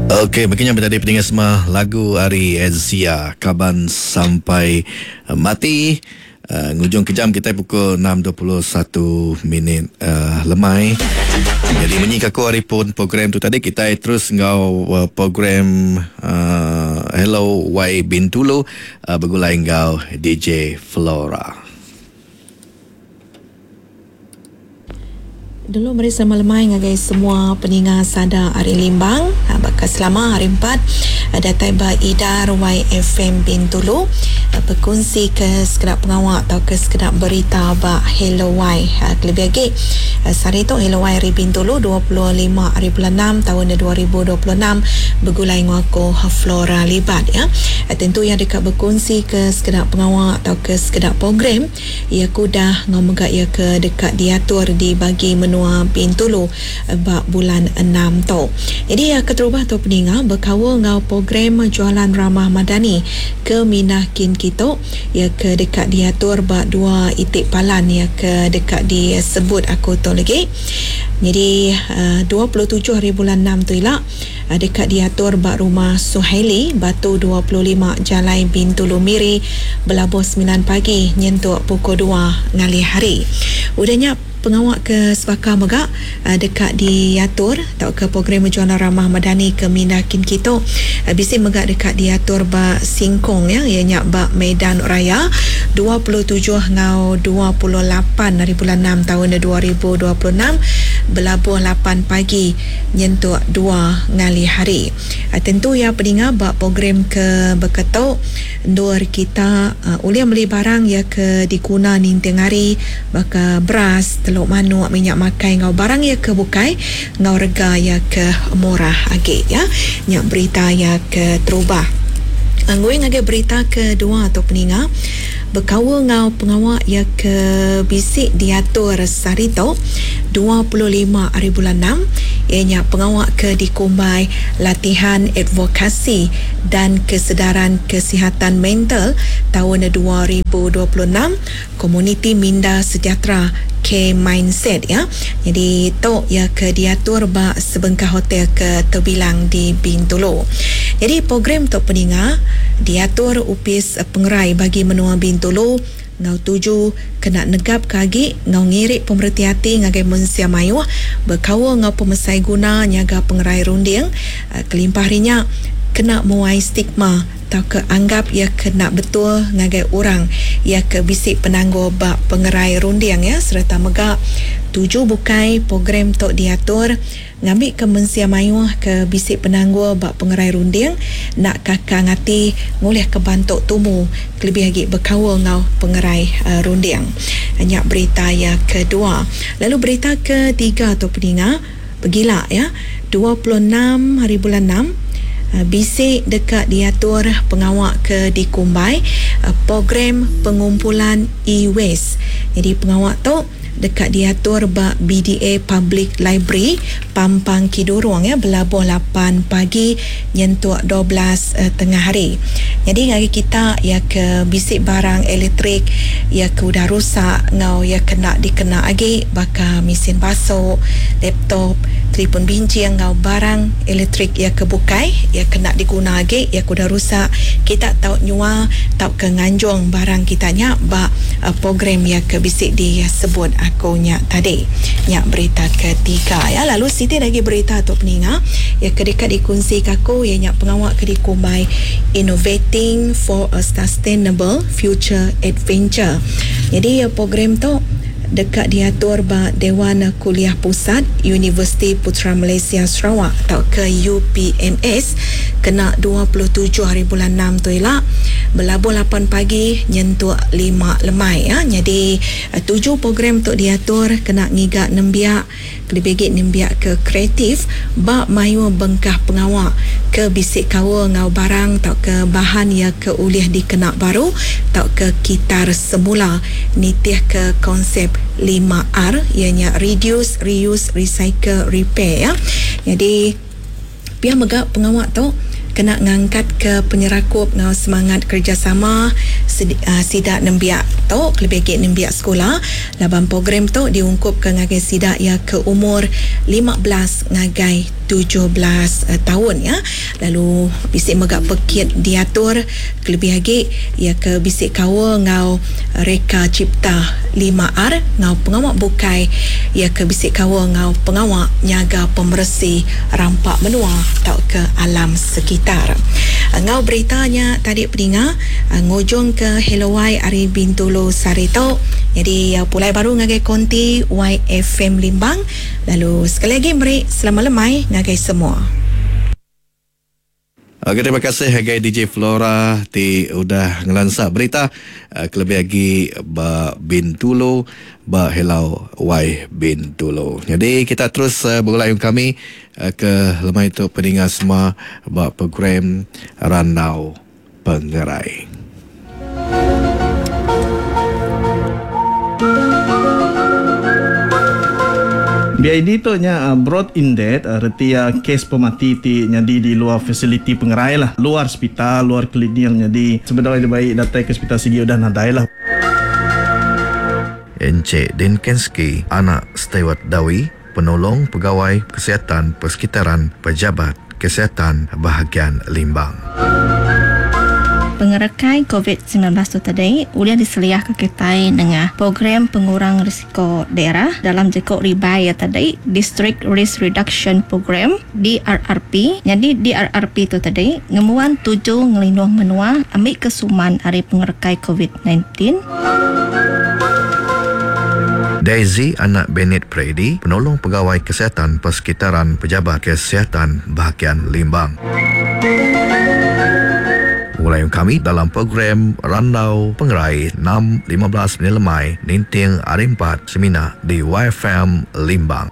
Okey, begini tadi peninga semua lagu ari Edzia Kaban Sampai Mati. Ngujung ke jam kita pukul 6.21 minit lemai. Jadi munyi ke aku hari pun program tu tadi kita terus enggau program Hello Y Bintulu begulai enggau DJ Flora. Dulu meri selamat lemai ngagai semua peninga sada ari Limbang baka selama hari empat datai ba idar YFM Bintulu bekunsi ke sekeda pengawa tauka sekeda berita ba Hello Y kelebih agi sehari tu Hello Y ari Bintulu 25 hari bulan enam taun 2026 begulai enggau aku Flora Libat ya. Tentu iya deka bekunsi ke sekeda pengawa tauka sekeda program Iya ke udah enggau mega iya ke deka diatur di bagi menua Bintulu ba bulan enam tu. Nyadi iya keterubah tu peninga bekaul enggau program Jualan Ramah Madani ke mindah kin kitu iya ke deka diatur ba dua iti palan iya ke deka disebut aku tu lagi. Nyadi 27 hari bulan enam tu ila deka diatur ba Rumah Suhaili, Batu 25 Jalai Bintulu Miri belabuh semilan pagi nyentuk pukul dua ngalih hari. Udah nya, pengawa ke sebaka mega deka diatur tauka program Jualan Ramah Madani ke mindah kin kitu bisi mega deka diatur ba Singkong iya nya ba Medan Raya 27 enggau 28 hari bulan enam taun 2026 belabuh lapan pagi nyentuk dua ngalih hari. Tentu iya peninga ba program ke baka tu endur kita ulih meli barang iya ke diguna ninting hari baka beras, teluk manuk, minyak makai enggau barang iya ke bukai enggau rega iya ke murah agi. Ya. Nya berita iya ke terubah. Ngui ngagai berita ke dua tu peninga bekaul enggau pengawa iya ke bisi diatur sehari tu, 25 ari bulan enam, iya nya pengawa ke dikumbai Latihan Advokasi dan Kesedaran Kesihatan Mental taun 2026, Komuniti Minda Sejahtera K-Mindset iya. Nyadi tu iya ke diatur ba sebengkah hotel ke tebilang di Bintulu. Nyadi program tu peninga diatur Opis Pengerai Bagi Menua Bintulu enggau tuju kena negapka agi enggau ngiri pemereti ati ngagai mensia mayuh bekaul enggau pemesai guna nyaga pengerai runding kelimpah ari nya kena muai stigma tauka anggap iya ke enda betul ngagai orang iya ke bisi penanggul ba pengerai runding iya sereta mega tuju bukai program tu diatur ngambika mensia mayuh ke bisi penanggul ba pengerai runding enda kakang ati ngulihka bantu tumu kelebih agi bekaul enggau pengerai runding. Nya berita iya kedua. Lalu berita ketiga tu peninga pegila iya 26 hari bulan enam bisi deka diatur pengawa ke dikumbai Program Pengumpulan E-Waste. Nyadi pengawa tu deka diatur ba BDA Public Library, Pampang Kidurong ya belabuh lapan pagi nyentuk 12 tengah hari. Nyadi ngagai kita iya ke bisi barang elektrik iya ke udah rusak enggau iya ke enda dikena agi baka mesin basu, laptop, telefon binching enggau barang elektrik iya ke bukai iya ke enda diguna agi iya ke udah rusak kita tau nyual tauka nganjung barang kita nya ba program iya ke bisi disebut aku nya tadi. Nya berita ketiga ya. Lalu siti agi berita tu peninga iya ke deka dikunsika aku iya nya pengawa ke dikumbai Innovating for a Sustainable Future Adventure. Nyadi program tu deka diatur ba Dewan Kuliah Pusat Universiti Putra Malaysia Sarawak tauka UPMS kena 27 hari bulan enam tu ila belabuh lapan pagi nyentuk lima lemai. Nyadi tuju program tu diatur kena ngiga nembiak kelebih agi nembiak ke kreatif ba mayuh bengkah pengawa ke bisi kaul enggau barang tauka bahan iya ke ulih dikena baru tauka kitar semula nitihka konsep lima R iya nya Reduce, Reuse, Recycle, Repair. Nyadi pia mega pengawa tu kena ngangkatka penyerakup enggau semangat kerejasama sida nembiak tu kelebih agi nembiak sekula laban program tu diungkupka ngagai sida iya ke umur 15 ngagai. 17 taun ya. Lalu bisi mega pekit diatur kelebih agi iya ke bisi kaul enggau reka cipta 5R enggau pengawa bukai iya ke bisi kaul enggau pengawa nyaga pemeresi rampa menua tauka alam sekitar. Enggau berita nya tadi peninga ngujungka Hello Y ari Bintulu sehari tu. Nyadi pulai baru ngagai konti YFM Limbang lalu sekali agi meri selamat lemai ngagai semua. Okey terima kasih ngagai DJ Flora ti udah ngelansa berita kelebih agi ba Bintulu ba Hello Y Bintulu. Nyadi kita terus begulai enggau kami ke lemai tu peninga semua ba program Randau Pengerai. BID tu nya brought in death reti iya kes pemati ti nyadi di luar fasiliti pengerai lah, luar sepital, luar klinik nyadi sebedau iya dibai datai ke sepital sigi udah nadai lah. Encik Dinkenski anak Steward Dawi, Penolong Pegawai Kesihatan Persekitaran Pejabat Kesihatan Bahagian Limbang. Pengerekai Covid 19 tu tadi ulih diseliahka kitai nengah Program Pengurang Risiko Daerah dalam jaku ribai iya tadi District Risk Reduction Program, DRRP. Nyadi DRRP tu tadi ngembuan tuju ngelindung menua ambika suman ari pengerekai Covid 19. Daisy anak Bennet Prady, Penolong Pegawai Kesihatan Persekitaran Pejabat Kesihatan Bahagian Limbang. Begulai enggau kami dalam program Randau Pengerai 6:15 minit lemai ninting Hari Empat semina di YFM Limbang.